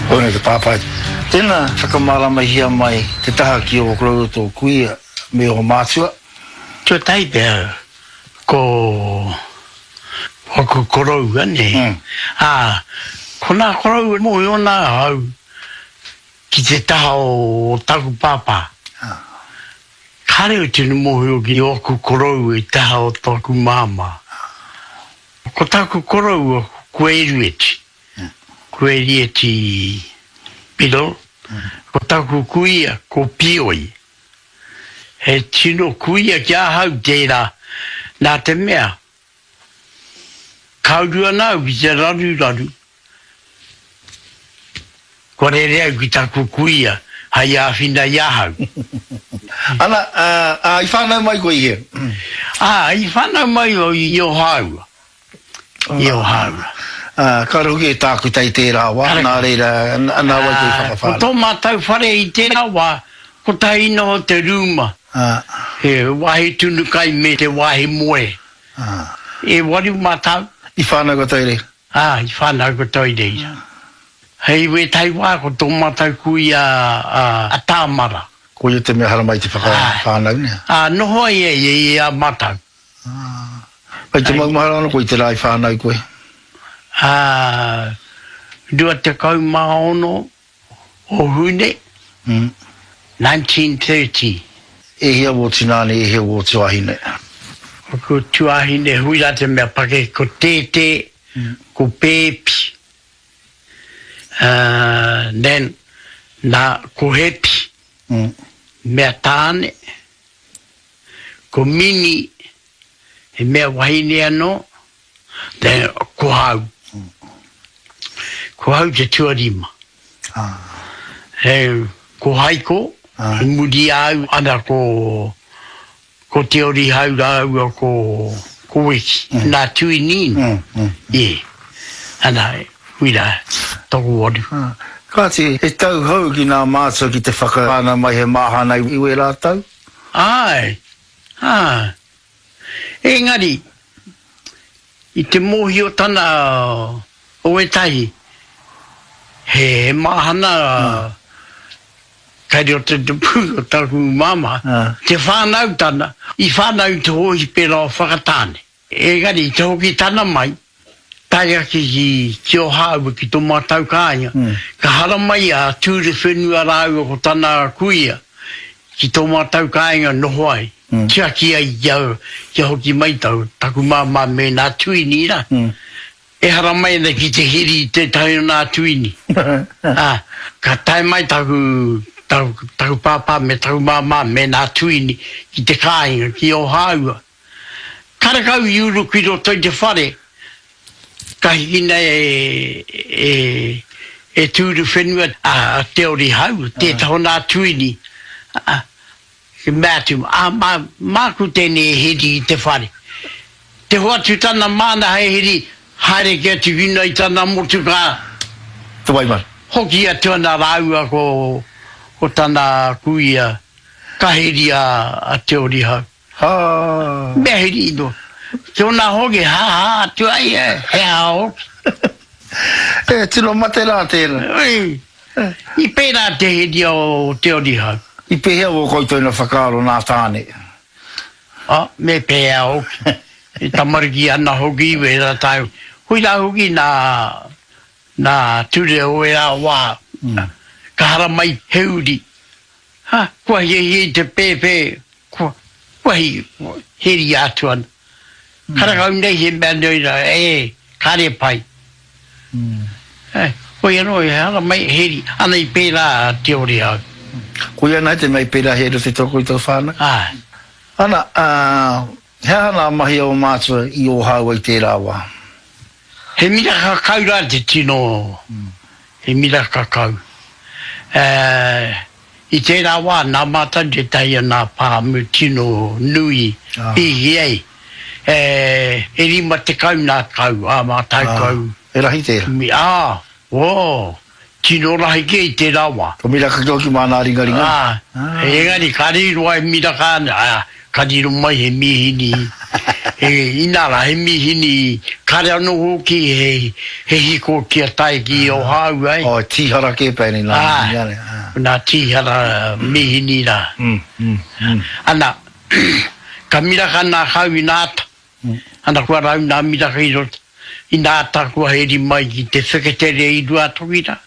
Koinei te pāpai. Tēnā, whakamāramahia mai te taha ki ō koroua tō kuia me ō mātua. Tuatahi pea, ko waku koroua, nē. Ā, ko nā koroua mōhio ana ahau ki te taha o taku pāpā. Kāre au tino mōhio ki ōku koroua i taha o taku māmā. Ko taku koroua ko Erueti. Ko Erieti Biddle, ko taku kuia ko Pioi. He tino kuia ki ahau tērā, nā te mea, ka uru ana au ki te raruraru, kua rere au ki taku kuia hei āwhina i ahau. Ana, ā, i whānau mai koe i hea? Ā, i whānau mai au i Ōhāua. I Ōhāua. Ā, kāore hoki e tākuta i tērā wā, nā reira, nā wai koe i whakawhānau? Ko tō mātou whare i tērā wā, kotahi noho te rūma, he wāhi tunu kai me te wāhi moe. E waru mātou. I whānau katoa i reira? Ā, i whānau katoa i reira. Hei wētahi wā ko tō mātou kuia a Tāmara. Ko ia te mea haramai te whakawhānau, nē? Ā, noho ai ia i a mātou. Kei te maumahara ana koe i te rā i whānau koe? Ā, 26 o Hune, 1930. E hia wō tināne, e hia wō tuahine? Ko tuahine hui rā te mea pakeke, ko Tētē, ko Pēpi, ā, then, nā, ko Hepi, mea tāne. Ko Mini, he mea wahine anō, then ko hau. Ko hau te tuarima. He, ko Haiko, i muri i a au, ana ko, ko Te Orihau rāua ko, ko Weki, nā Tuini, yeah. Ana, wira, tokowaru. Kāti, he tauhou ki nā mātua ki te whakawhānau mai he māhana i wērā tau? Āe, āe. Engari, i te mōhiotana o ētahi, he māhana kei roto i te pū o taku māmā, te whānautana, i whānau i te hōhipera o Whakatāne. Engari i te hoki tana mai, tae ake ki ki Ohāua ki tō mātau kāinga, ka haramai a Tūrewhenua rāua ko tana kuia ki tō mātau kāinga noho ai, tiaki ai kia kia hoki mai taku māmā me nā tuini rā. E haramai ana ki te hiri i tētahi o nā tuini. Ā, ka tae mai taku taku taku pāpā me taku māmā me nā tuini ki te kāinga, ki Ohāua. Karekau i uru ki roto i te whare, ka hikina e, e, e Tūruwhenua a Te Orihau, tētahi o nā tuini, a, ki mea atu, a, mā, māku tēnei e heri i te whare. Te hoatu tana māna hei heri, haere ki atu ki runga i tana motukā. Te waimana. Hoki atu ana rāua ko, ko tana kuia, ka heria a Te Orihau. Ha! Mea heri noa. Tona hoki, ha ha atu ai e, he aha hoki. E tino mate rā tēnā. Ui, i pērā te heri o Te Orihau. I pēhea wō koutou na whakaaro nā Tāne? Oh, me pēhea hoki. E tamariki ana hoki i wērā tau. Koirā hoki nā, nā ture o ērā wā. Ka haramai he uri. Ha, kua hiahia i te pēpē, kua, kua hi, heria atu ana. Karekau nei he mea nui ra, e, kare pai. E, hoi anō, he hara mai, heri, ana i pērā a Te Orihau. Koia ana te mea i pērā he rote tō koutou whānau? Āe. Ana, ā, he aha nā mahi a ō mātua i Ōhāua i tērā wā? He miraka kau rā te tino, he miraka kau. I tērā wā nā mātou tētahi o nā pāmu tino nui pīhi ai. E 50 nā kau, ā mātou kau. He rahi tērā? Ā, oh, tino rahi kē i tērā wā. Ko miraka kē hoki mā nā ringaringa? Ā, engari ka riro ai miraka ana, ā, ka riro mai he mīhini. E, inā rā, he mīhini, kāre anō hoki he, he hiko kia tae ki Ōhāua, e. Oh, tīhara kē pea ēnei nā mīhini ane. Āe, nā tīhara mīhini rā. Mm, mm, mm. Ana, ka miraka nā kau i nā ata, ana kua rau nā miraka i roto, i nā ata kua heri mai ki te wheketere i Ruatoki rā.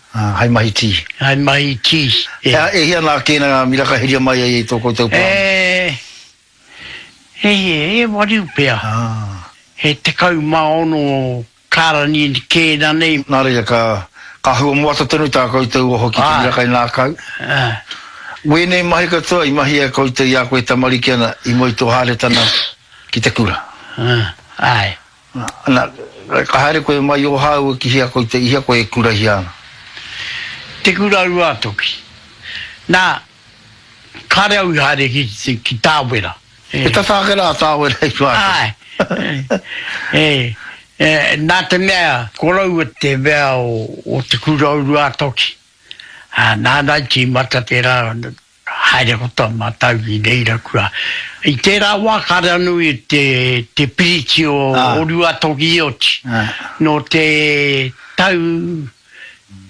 Ā, hei mahi tī. Hei mahi tī, e. E hia nā kēnā ngā miraka heria mai ai e tō koutou pāmu? E, e, e waru pea. Ā. He 16 karani kēnā nei. Nā reira, ka, ka hua moata tonu tā koutou oho ki te miraka i nā kau. Ā. Wēnei mahi katoa i mahia e koutou i a koe tamariki ana i mua i tō haeretana ki te kura. Ā, āe. Ana, ka haere koe mai o hāua ki hea koutou, i hea koe e kurahia ana? Te Kura Ruātoki. Nā, kāre au i haere ki, ki Tāwera. E tata ake rā a Tāwera i Ruātoki. Āe. E, e, nā te mea, ko raua te mea o, o Te Kura o Ruātoki. Ā, nāna i tīmata tērā, Haere ko tā mātau ki reira kura. I tērā wā kāre anō i te, te piriti o, o Ruatoki i oti. Nō te tau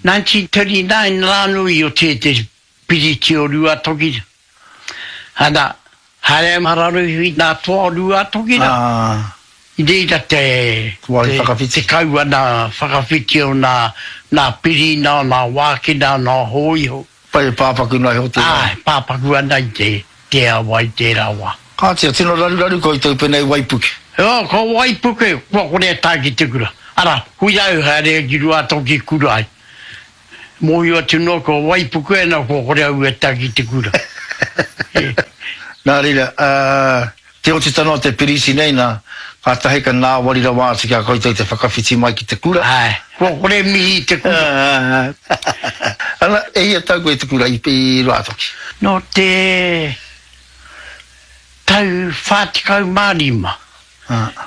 1939 rā anō i oti ai te piriti o Ruatoki. Ana, haere ai Mararuhi nā toa o Ruatoki rā. I reira te, te, te kau ana whakawhiti o nā, nā pirina, nā wākina, nā hōiho. Pai e pāpaku nei ho tērā. Āe, pāpaku ana i te, te awa i tērā wā. Kāti, a tino raruraru koutou penei waipuke. Oh, ko waipuke, kua kore e tae ki te kura. Arā, hui au haere ki Ruatoki kura ai. Mōhio atu noa kua waipuke ana kua kore au e tae ki te kura. Nā reira, ā, Te otitana o te piriti nei na, katahi ka nāwari rawa atu ki a koutou te whakawhiti mai ki te kura. Ae, kua kore mihi i te kura. Ana, e hia tau koe i te kura i Ruātoki? Nō te tau 45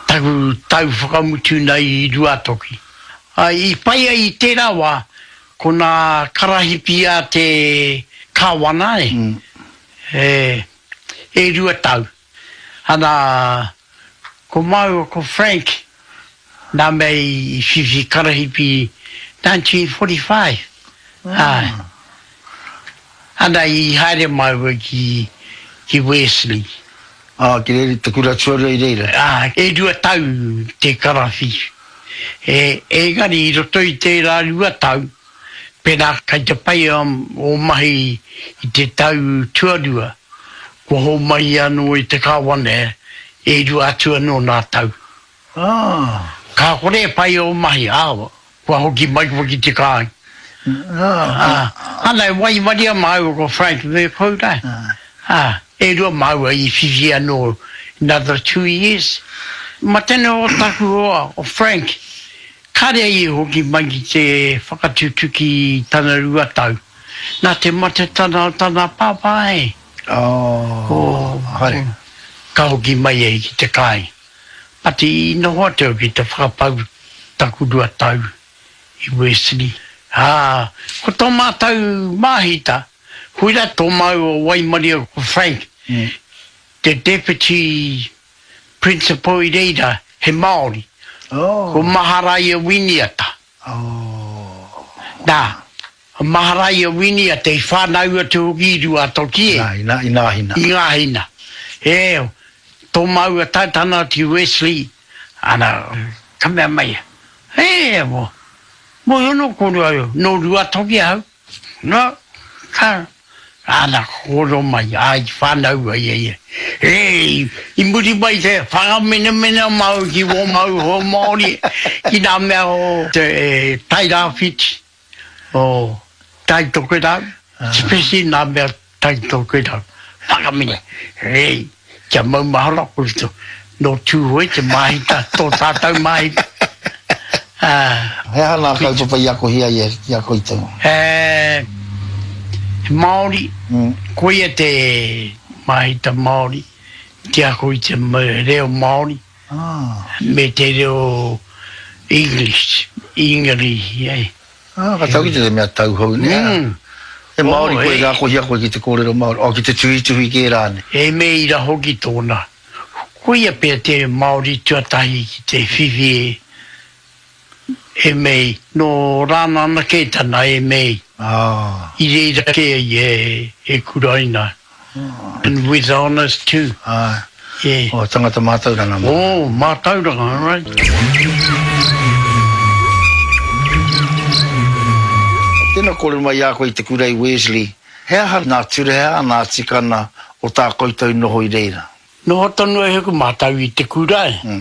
taku tau whakamutu nei i Ruātoki. I pai ai i tērā wā, ko nā karahipi a te Kāwana, e. E rua tau. Ana, ko māua ko Frank, nā mea i whiwhi karahipi 1945. Āe. Ana, i haere māua ki, ki Wesley. Ā, ki reira, te kura tuarua i reira. Āe, e rua tau te karawhiu. E, engari i roto i tērā rua tau, Pēnā kei te pai ō mahi i te tau tuarua, kua hōmai anō i te Kāwana e rua atu anō nā tau. Ka kore e pai ō mahi, ā, kua hoki mai koe ki te kāinga. Ā, ana e waimaria māua ko Frank me Kourai. Ā, e rua māua i whiwhi anō another two years. Mate noa o taku hoa, o Frank, Kāre i hoki mai ki te whakatutuki i tana 2 tau. Nā te matetana o tana pāpā e. Oh, haere. Ka hoki mai ai ki te kāinga. But i noho atu au ki te whakapau taku 2 tau i Wesley. Ā, ko tō mātau māhita, koirā tō māua waimaria ko Frank, te deputy Principal i reira, he Māori. Oh. Ko Maharaia Winiata. Oh. Nā, a Maharaia Winiata i whānau atu hoki i Ruatoki e. Nā, i nā, i Ngāhina. I Ngāhina. E, tō māua taetana atu i Wesley, ana, ka mea mai ia, E, mo, mōhio nō kōrua, nō Ruatoki ahau. Nā, ka, āna kōrero mai, ā, i whānau ai e ia. E, i muri mai te whakamenamena māu ki wō māu hoa Māori, ki nā mea o te Tairāwhiti, o Tai Tokerau, especially nā mea Tai Tokerau. Whakamene, e, kia maumahara koutou, nō Tūhoe te māhita, tō tātou māhita. Ā. He aha ngā kaupapa i akohia ai i a koutou? He Māori, koia te māhita Māori, te ako i te reo Māori me te reo English, Ingarihi, e. Ā, ka tau ki te mea tauhou, nē? He Māori koe, ka akohia koe ki te kōrero Māori, oh, ki te tuhituhi kē rānei. He mēira hoki tōna. Koia pea te Māori tuatahi ki te whiwhi MA. Nō Rānana kē tana MA. I reira kē ia e kuraina. And with honours too. Āe. Yeah. Oh, tangata mātauranga. Oh, mātauranga, right. Tēnā kōrero mai i a koe i te kura i Wesley, he aha nā ture, he aha nā tikana o tā koutou noho i reira? Noho tonu ai hoki mātou i te kura e.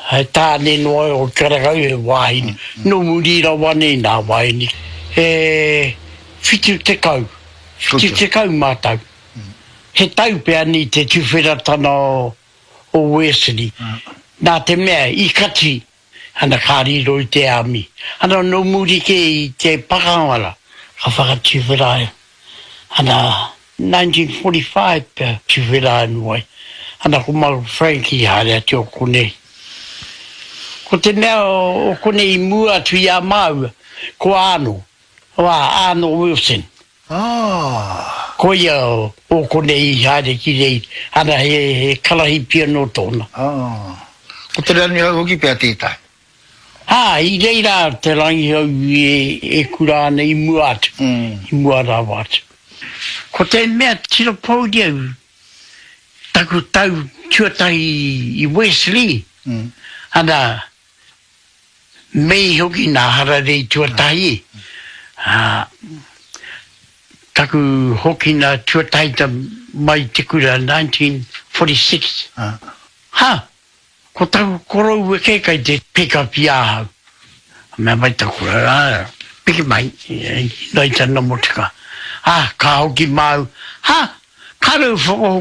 He tāne noa o Karakau, he wāhine. Nō muri rawa nei nā wāhine. He 70, 70 mātou. He tau pea nei te tuwheratana o Wesley. Nā te mea i kati ana ka riro i te army. Ana nō muri kē i te pakanga rā, ka whakatuwhera ai. Ana 1945 pea tuwhera anu ai. Ana ko Michael Frank i haere atu o konei. Ko te mea o konei i mua atu i a māua, ko Arnold, a Arnold Wilson. Ah! Koia o konei i haere ki reira, ana he karahipi anō tōna. Ah! Ko Te Rangihau hoki pea tētahi. Ā, i reira Te Rangihau e kura ana i mua atu, i mua rawa atu. Ko te mea tino pōuri au, taku tau tuatahi i Wesley, ana, Mei hoki nā hararei tuatahi, ā, taku hokina tuatahita mai i te kura 1946. Ha! Ko taku koroua kē kai te pick up i ahau. Mea mai taku koroua, ā, piki mai, i tana motuka. Ā, ka hoki māu, ha! Kāre u whakahoki.